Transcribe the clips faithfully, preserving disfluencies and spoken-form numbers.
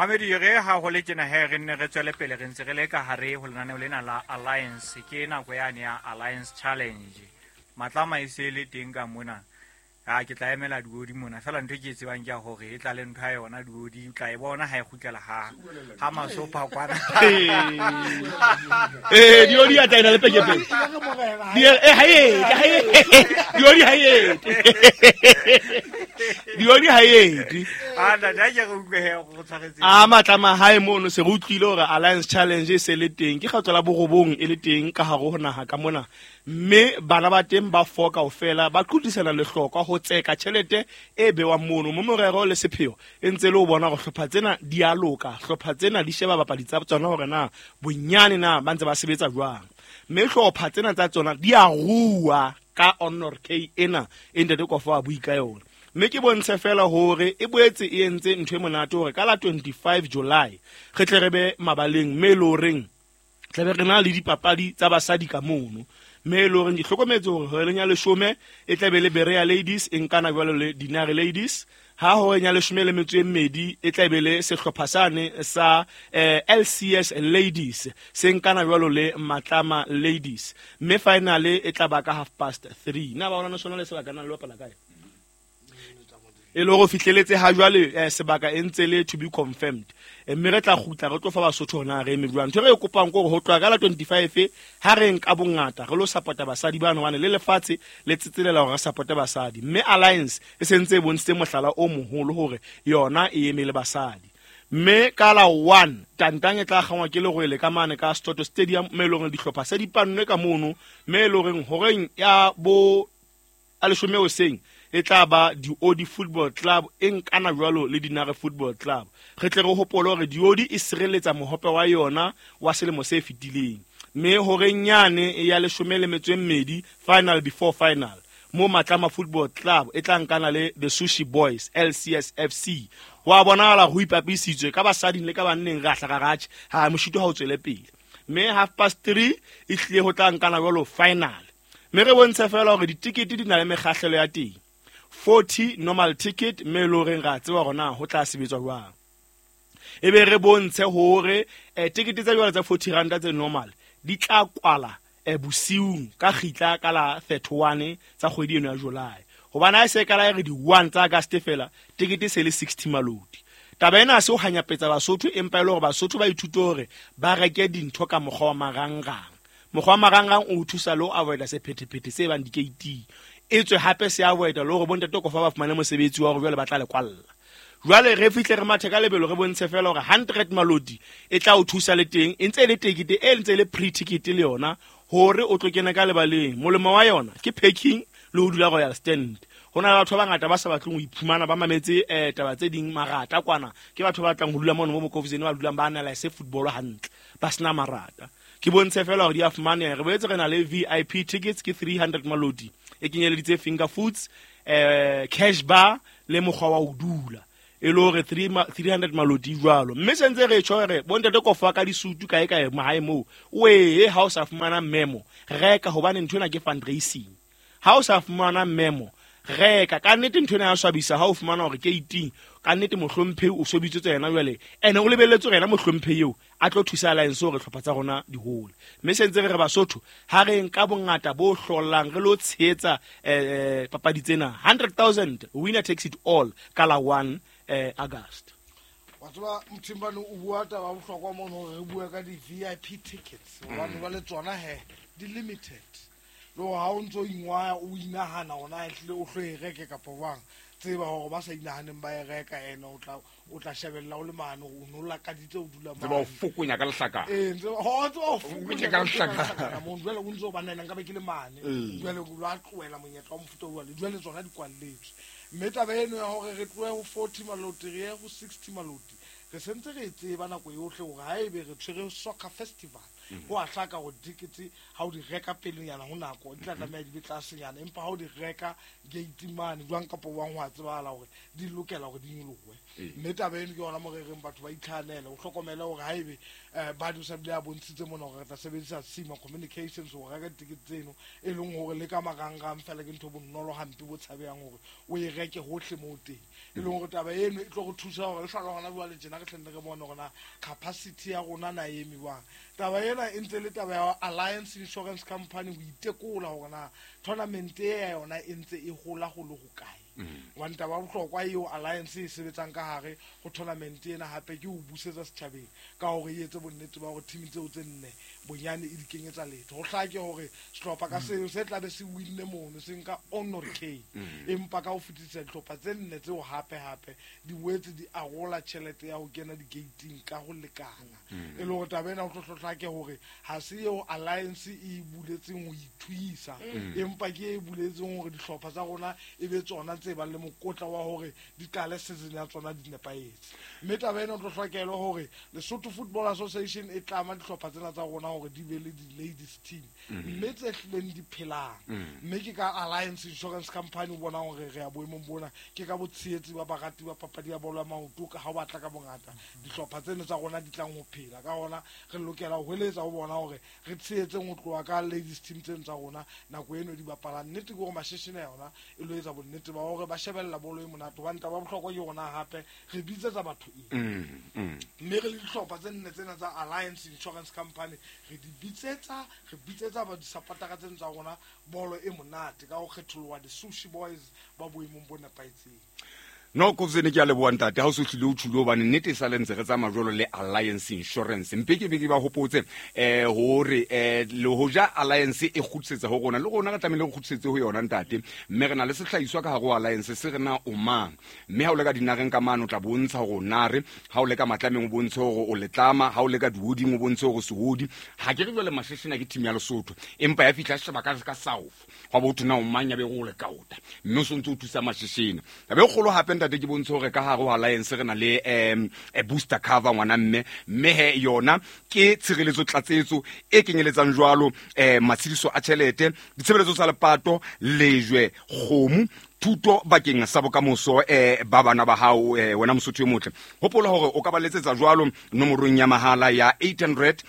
Mamedi re ha ho le tjena he re nne re tswele pele re ntse re le ka hare ho lenaneo lena la Alliance ke nako yane ya Alliance Challenge. Matlama e se le teng ka mona. A ke tla emela diodi mona fela ntho e ke e tsebang ke ya hore e tla le ntho ya yona diodi o tla e bona ha e kgutlela ha ha masopa kwana. Eh diodi ya tla ina le pekepeke. Di eh ha e ha e diodi ha e. Diodi ha e. A nna da ke re utlwe he go tshwaretse. A matlama hae mono se re utlwile hore Alliance Challenge e se le teng ke kgetlo la borobong e le teng ka hare ho naha ka mona mme bana ba teng ba four kaofela ba qhutisana lehlokwa ho tseka tjhelete e bewang mono mo morero le sepheo e ntse le ho bona hore hlopha tsena di a loka hlopha tsena di sheba bapadi tsa tsona hore na bonyane na ba ntse ba sebetsa jwang mme hlopha tsena tsa tsona di a rua ka Honor K ena e ntate Kofa a bui ka yona mme ke bontshe fela hore e boetse e entse ntho e monate hore ka la twenty-five July re tle re be mabaleng mme le horeng tla be re na le dipapadi tsa basadi ka mono mme le horeng di hlokometse hore horeng ya leshome e tla be le Berea Ladies e nkana jwalo le Dinare Ladies ha horeng ya leshome le metso e mmedi e tla be le sehlopha sane sa eh, L C S Ladies se nkana jwalo le Matlama Ladies mme finale e tla ba ka half past three na ba ona sona le sebaka na le bapala kae e le hore fihleletse ha jwale eh, sebaka e ntse le to be confirmed mme re tla kgutla re tlo fa Basotho hona re eme jwang ntho re e kopang ke hore ho tloha ka la twenty-five ha re nka bongata re lo support-a basadi bano hobane le lefatshe le tsetselela hore re support-e basadi mme Alliance e sentse e bontshitse mohlala o moholo hore yona e eme le basadi mme ka la one tantang e tla kgangwa ke lerwele ka mane ka Soto Stadium mme e le hore dihlopha se di pannwe ka mono mme e le horeng horeng ya bo a leshome hoseng e tla ba Diodi Football Club e nkana jwalo le Dinare Football Club re tle re hopole hore Diodi e sireletsa mohope wa yona wa selemo se fetileng mme horeng yane ya leshome le metso e mmedi final before final mo Matlama Football Club e tla nkana le the Sushi Boys L C S F C wa bonahala ho ipapisitswe ka basading le ka banneng re a hlaka ratjhe ha moshito ha o tswele pele mme half past three e hlile ho tla nkana jwalo final mme re bontshe fela hore ditikete di na le mekgahlelo ya teng forty normal ticket mme le horeng ra tseba hore na ho tla sebetswa jwang e be re bontshe hore eh, tikete tsa jwale tsa forty rand tse normal di tla kwala eh, bosiung ka kgitla ka la thirty-one tsa kgwedi eno ya July hobane ha e se ka la re di one tsa August fela tikete se le sixty malodi taba ena ha se ho hanyapetsa Basotho empa e le hore Basotho ba ithute hore ba reke dintho ka mokgwa wa marangrang mokgwa wa marangrang o thusa le ho avoida sephethephethe se bang dikeiting e tswe hape se avoida le hore bontate Kofa ba fumane mosebetsi wa hore jwale ba tla le kwalla jwale re fihle re mathe ka lebelo re bontshe fela hore hundred malodi e tla o thusa le teng e ntse e le tekete e ntse e le pre-ticket le yona hore o tlo kena ka lebaleng molemo wa yona ke parking le ho dula Royal Stand ho na le batho ba bangata ba sa batleng ho iphumana ba mametse eh, taba tse ding marata kwana ke batho ba batlang ho dula mono mo Bokofiseng ba dulang ba analyse football hantle ba sena marata ke bontshe fela hore di a fumaneha re boetse re na le V I P tickets ke three hundred malodi e kenyeleditse finger foods eh, cash bar le mokgwa wa ho dula e le hore three hundred malodi jwalo mme se ntse re tjho hore bontate Kofa ka disutu kae kae mahae moo o ee ha o sa fumana memo reka hobane ntho ena ke fundraising ha o sa fumana memo reka ka nnete ntho ena ya swabisa ha o fumana hore ke eighteen ka nnete mohlomphehi o sobitswe yena jwale ene o lebelletse hore yena mohlomphehi eo a tlo thusa Alliance hore hlopha tsa rona di hole mme se ntse re re Basotho ha re nka bongata bo hlollang re lo tshehetsa eh, papadi tsena hundred thousand winner takes it all ka la one eh, August wa tseba Mthimbane o bua taba ya bohlokwa mono hore re bue ka di-V I P tickets hobane jwale tsona he di limited le hore ha o ntso ingwaya o inahana hore na ehlile o tlo e reke kapa jwang tseba hore ba sa inahaneng ba e reka ene o tla o tla shebella o le mane o no lakaditse o dula Tseba o mane. fokonya ka lehlaka. Ee, tseba ho tseba o Fokonya ka lehlaka. lehlaka mono. Jwale o ntso ba nna nka be ke le mane. Ee. Jwale o lo a tlohela monyetla wa mofuta o jwalo. Jwale tsona di kwalletswe. Mme taba eno ya hore re tlohe ho forty maloti re ye ho sixty maloti re sentse re e tseba nako yohle hore haebe re tshwere soccer festival Ho a hlaka hore ditikete ha o di reka pelenyana ho nako di tla tlameha di be tlasenyana, empa ha o di reka gate mane jwang kapa jwang ho a tsebahala hore di lokela hore di nyolohe. Mme taba eno ke yona mo re reng batho ba itlhanele, o hlokomele hore haebe eh ba di sa bile a bontshitse mona hore re tla sebedisa Sima Communications ho reka ditikete tseno, e leng hore le ka marangrang fela ke ntho bonolo hampe bo tshabehang hore o e reke hohle moo teng. E leng hore taba eno e tlo re thusa hore le hlala hona jwale tjena re hlenne re bone hore na capacity ya rona na e eme jwang. Taba ena e ntse le taba ya Alliance Insurance Company ho itekola hore na tournament e ya yona e ntse e hola ho le hokae. Hobane taba ya bohlokwa eo Alliance e sebetsang ka hare ho tournament ena hape ke ho busetsa setjhabeng ka hore e etse bonnete ba hore team tseo tse nne bonyane e di kenyetsa letho. Ho hlake hore sehlopha ka seo se tlabe se winne mono se nka honor K, empa ka ho fetisisa dihlopha tse nne tseo hape hape di boetse di arola tjhelete ya ho kena di-gating ka ho lekana. E le hore taba ena ho tlo hlake hore ha se eo Alliance e buletseng ho ithuisa, empa ke e buletseng hore dihlopha tsa rona e be tsona tse bang le mokotla wa hore di qale season ya tsona di nepahetse. Mme taba ena o tlo hlokelwa hore Lesotho Football Association e tlama dihlopha tsena tsa rona hore di be le di-ladies team mme tse hlileng di phelang. Mme ke ka Alliance Insurance Company o bonang hore re ya boemong bona, ke ka botshehetsi ba barati ba papadi ya bolo ya maoto ka ha o batla ka bongata dihlopha tseno tsa rona di tlang ho phela. Ka hona re lokela ho hweletsa ho bona hore re tshehetseng ho tloha ka ladies team tseno tsa rona nako eno di bapalang. Nnete ke hore Masheshene yona e lo etsa bonnete ba hore ba shebella bolo e monate, hobane taba ya bohlokwa ke rona hape re bitsetsa batho eng. Mme re le dihlopha tse nne tsena tsa Alliance Insurance Company re di bitsetsa, re bitsetsa ba disapotara tseno tsa rona bolo e monate ka ho kgetholoha di-Sushi Boys ba boemong bo nepahetseng. No Kobzene ke a leboha ntate ha o so hlile o tjhule hobane nnete e sale ntse re tsamaya jwalo le Alliance Insurance. Mpe ke be ke ba hopotse eh hore eh le hoja Alliance e kgutlisetsa ho rona le rona re tlamehile re kgutlisetse ho yona ntate, mme re na le sehlahiswa ka hare ho Alliance se re na o mang, mme ha o le ka dinareng ka mane o tla bontsha hore o nare, ha o le ka matlameng o bontshe hore o letlama, ha o le ka dihoding o bontshe hore sehodi. Ha ke re jwale Masheshena ke team ya Lesotho, empa ya fihla sheba ka ka South hwa bo thona o mang ya be go le kaota, mme o sontse o thusa Masheshena. Taba e kgolo hape ntate ke bontshe hore ka hare ho Alliance re na le um booster cover ngwana mme, mme he yona ke tshireletso tlatsetso e kenyeletsang jwalo eh matshediso a tjhelete, ditshebeletso tsa lepato, lejwe, kgomo, thuto bakeng sa bokamoso eh ba bana ba hao eh, wena Mosotho e motle. Hopola hore o ka ba letsetsa jwalo nomorong ya mahala ya eight hundred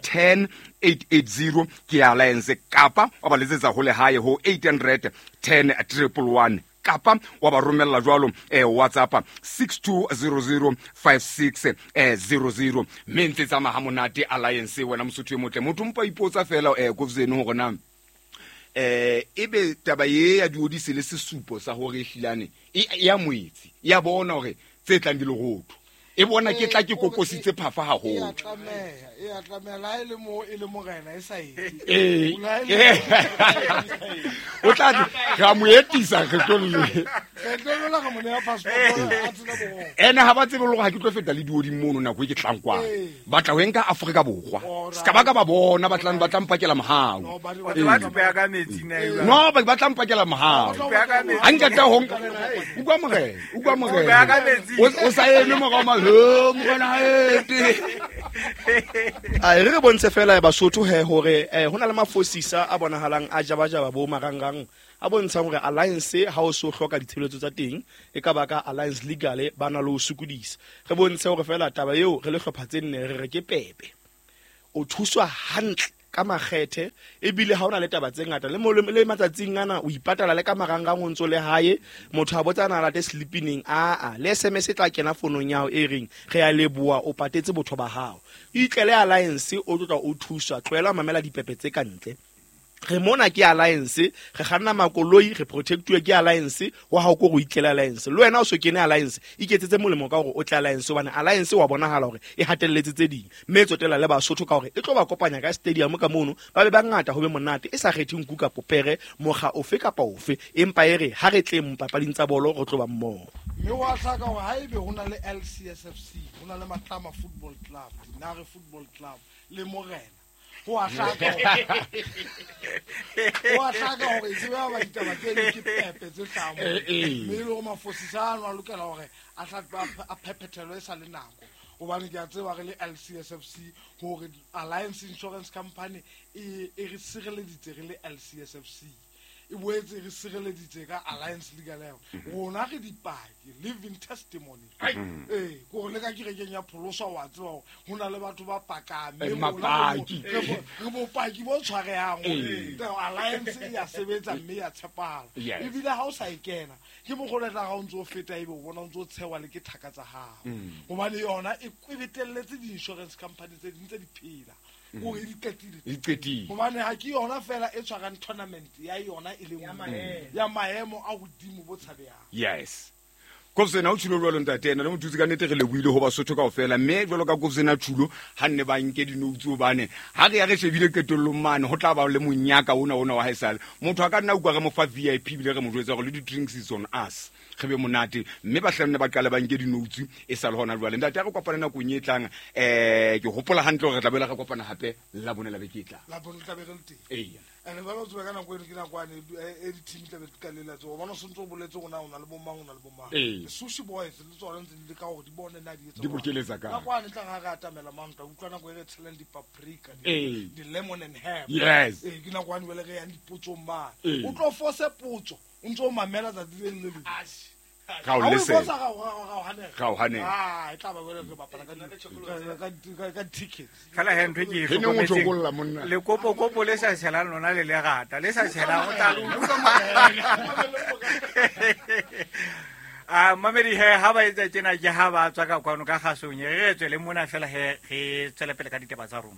ten eight eight zero ke ya Alliance, kapa wa ba letsetsa ho lehae ho eight hundred ten triple one, kapa wa ba romella jwalo eh WhatsApp six two zero zero five six zero zero. Mme ntse tsamaya ha monate Alliance wena Mosotho e motle. Motho mpa ipotsa fela eh Kobzene hore na eh ebe taba ye ya diodise le sesupo sa hore hlilane e ya moetsi ya bona hore tse tlang di lerotho e bona ke tla ke kokositse phafa haholo. E a tlameha, e a tlameha la e le mo e le morena e sa etse. Eh o tla ra mo etisa re tlo le re tlo la re mo nea passport a tsena borwa. Ene ha ba tsebe le hore ha ke tlo feta le dioding mono nako e ke tlang kwa. Ba tla ho nka Afrika Borwa. Ska ba ka ba bona ba tlang ba tla mpakela mohau. Ba tla beya ka metsi na. No ba tla mpakela mohau. Ha nka tla ho nka o kwa morena, o kwa morena. O sa eme morao ma a re re bontshe fela Basotho he hore eh hona le mafosisa a bonahalang a jabajaba bo marangrang a bontshang hore Alliance ha o so hloka ditshebeletso tsa teng e ka baka Alliance Legal ba na le ho sokodisa. Re bontshe hore fela taba eo re le hlopha tse nne re re ke pepe, o thuswa hantle ka makgethe, ebile ha ona le taba tse ngata le mo le matsatsing ana o ipatala le ka marangrang o ntso le hae. Motho a botsa na late sleeping a a le S M S e tla kena fonong ya hao e reng re a leboha o patetse botho ba hao. Itlele Alliance o tlotla o thuswa, tlohela mamela dipepe tse ka ntle. Re mona ke Alliance, re kganna makoloi, re protectuwe ke Alliance, wa hao ko go itlele Alliance. Le wena o so kene Alliance, iketsetse molemo ka hore o tle Alliance hobane Alliance wa bonahala hore e hatelletse tse ding. Mme tsotella le Basotho ka hore e tlo ba kopanya ka stadium ka mono, ba be bangata ho be monate e sa kgethe nku kapa pere, mokga ofe kapa ofe, empa e re ha re tleng papading tsa bolo re tlo ba mmoho. Mme wa hlaka hore haebe ho na le L C S F C, ho na le Matlama Football Club, Dinare Football Club le Morena, ho a hlaka ho a hlaka hore tsebe ba ditaba tse le ke pepe tse hlamo, mme le hore mafosisa ano a lokela hore a hla a phephetelo e sa le nako. Gobane ke a tseba re le L C S F C gore Alliance Insurance Company e e re sireleditse re le L C S F C. E boetse re sireleditse ka Alliance Legal Aid. Rona re dipaki, living testimony. Ee, ko le ka kerekeng ya pholoso wa tseba hore ho na le batho ba pakang, mme rona re bopaki bo tshwarehang hore Alliance e ya sebetsa mme ya tshepahala. Ebile ha o sa e kena, ke mokgwa o tla ha o ntso feta ebe o bona o ntso tshewa le ke thaka tsa hao. Hobane yona e kwebetelletse di-insurance company tse ding tse di phela. O e qetile. E qetile. Hobane ha ke yona fela e tshwarang tournament ya yona e le nngwe. Ya maemo a hodimo bo tshabehang. Yes. Kobzena o tshilo jwalo ntate ena le mothusi ka nnete re lebohile ho Basotho kaofela mme jwalo ka Kobzena Thulo ha nne ba nke dinoutsu hobane ha re ya re shebile qetellong mane ho tla ba le monyaka ona ona wa haesale motho a ka nna utlwa re mo fa V I P bile re mo jwetsa hore le di-drinks is on us re be monate mme ba hlanne ba qale ba nke dinoutsu e sa le hona jwale ntate a re kopane nakong e tlang eh ke hopola hantle hore re tla boela re kopana hape la bone la beke e tlang la bone tla be re le teng eya ene ba lo tseba ka nako eno ke nako ane e di-team tla be di kalela tse o bona o sentse o boletse gore na o na le bomang o na le bomang Sushi Boys le tsona ntse di leka hore di bone na di etsa di bokeletsa ka nako ane tla ga re atamela mang tla utlwa nako e re tshelang di-paprika di-lemon and herb yes ee ke nako ane jwale re yang dipotsong mane o tlo fose potso o ntse o mamela tsatsi le le leng ga o lese ga o hanela ga o hanela ah e tla ba jwale re bapala ka ka tickets fela he ntho ke e hlokometseng le kopo kopo le sa tshelang lona le lerata le sa tshelang o tla a mamedi he ha ba etsa tjena ke ha ba tswa ka kwano ka kgasong re tswele mona fela he re tswele pele ka ditaba tsa rona.